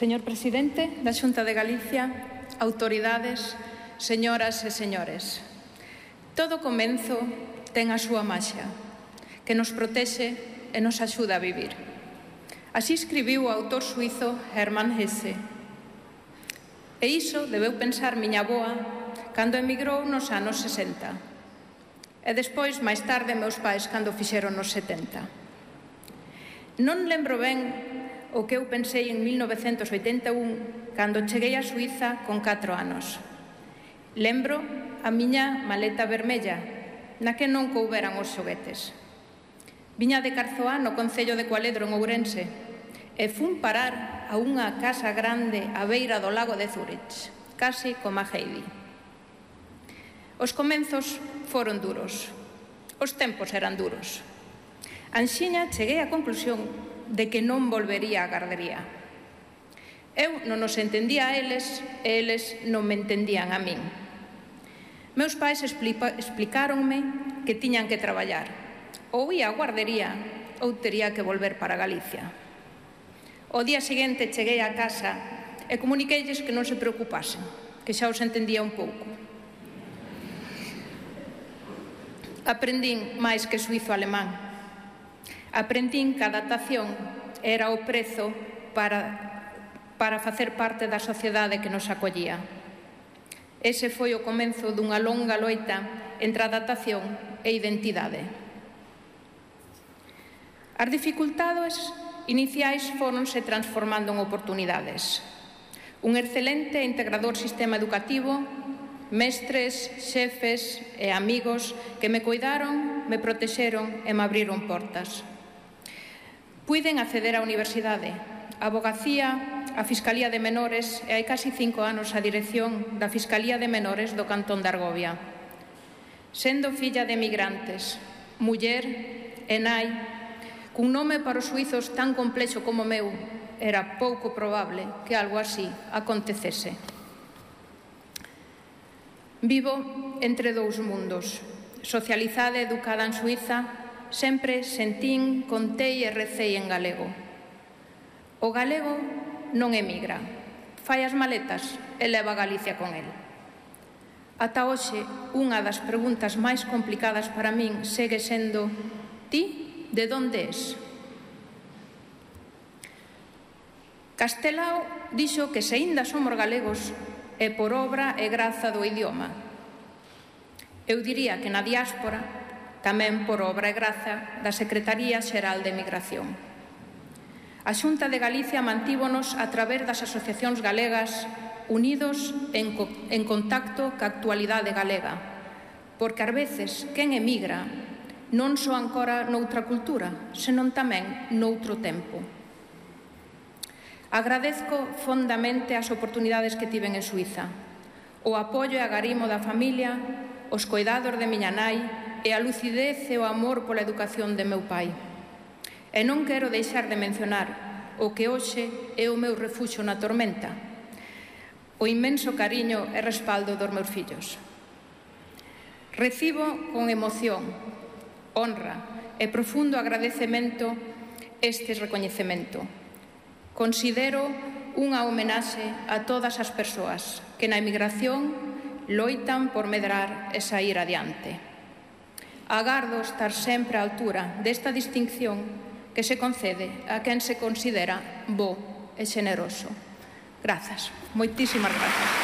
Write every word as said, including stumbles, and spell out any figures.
Señor Presidente da Xunta de Galicia, autoridades, señoras e señores, todo comenzo ten a súa maxia, que nos protexe e nos axuda a vivir. Así escribiu o autor suizo Hermann Hesse. E iso debeu pensar miña avoa cando emigrou nos anos sesenta. E despois, máis tarde, meus pais cando fixeron nos setenta. Non lembro ben o que eu pensei en mil novecentos oitenta e un cando cheguei a Suíza con catro anos. Lembro a miña maleta vermella, na que non couberan os xoguetes. Viña de Carzoá, no concello de Cualedro, en Ourense, e fun parar a unha casa grande á beira do lago de Zúrich, casi como a Heidi. Os comenzos foron duros, os tempos eran duros. Anxiña cheguei á conclusión de que non volvería á gardería. Eu non os entendía a eles e eles non me entendían a min. Meus pais explicáronme que tiñan que traballar. Ou ia á guardería ou tería que volver para Galicia. O día seguinte cheguei á casa e comuniqueilles que non se preocupasen, que xa os entendía un pouco. Aprendín máis que suizo-alemán. Aprendín que a adaptación era o prezo para, para facer parte da sociedade que nos acollía. Ese foi o comenzo dunha longa loita entre adaptación e identidade. As dificultades iniciais fóronse transformando en oportunidades. Un excelente e integrador sistema educativo, mestres, xefes e amigos que me coidaron, me protexeron e me abriron portas. Puiden acceder á universidade, a Avogacía, a Fiscalía de Menores e hai casi cinco anos a dirección da Fiscalía de Menores do Cantón de Argovia. Sendo filla de emigrantes, muller e nai, cun nome para os suizos tan complexo como o meu, era pouco probable que algo así acontecese. Vivo entre dous mundos. Socializada e educada en Suiza, sempre sentín, contei e recei en galego. O galego non emigra, fai as maletas e leva a Galicia con el. Ata hoxe, unha das preguntas máis complicadas para min segue sendo: ti, de onde és? Castelao dixo que se aínda somos galegos é por obra e graza do idioma. Eu diría que na diáspora tamén por obra e graza da Secretaría Xeral de Emigración. A Xunta de Galicia mantívonos a través das asociacións galegas unidos en, co en contacto ca actualidade galega, porque ás veces quen emigra non só ancora noutra cultura, senón tamén noutro tempo. Agradezco fondamente as oportunidades que tiven en Suiza, o apoio e agarimo da familia, os coidados de miña nai e a lucidez e o amor pola educación de meu pai. E non quero deixar de mencionar o que hoxe é o meu refuxo na tormenta, o inmenso cariño e respaldo dos meus fillos. Recibo con emoción, honra e profundo agradecemento este recoñecemento. Considero unha homenaxe a todas as persoas que na emigración loitan por medrar e sair adiante. Agardo estar sempre á altura desta distinción que se concede a quen se considera bo e xeneroso. Grazas, moitísimas grazas.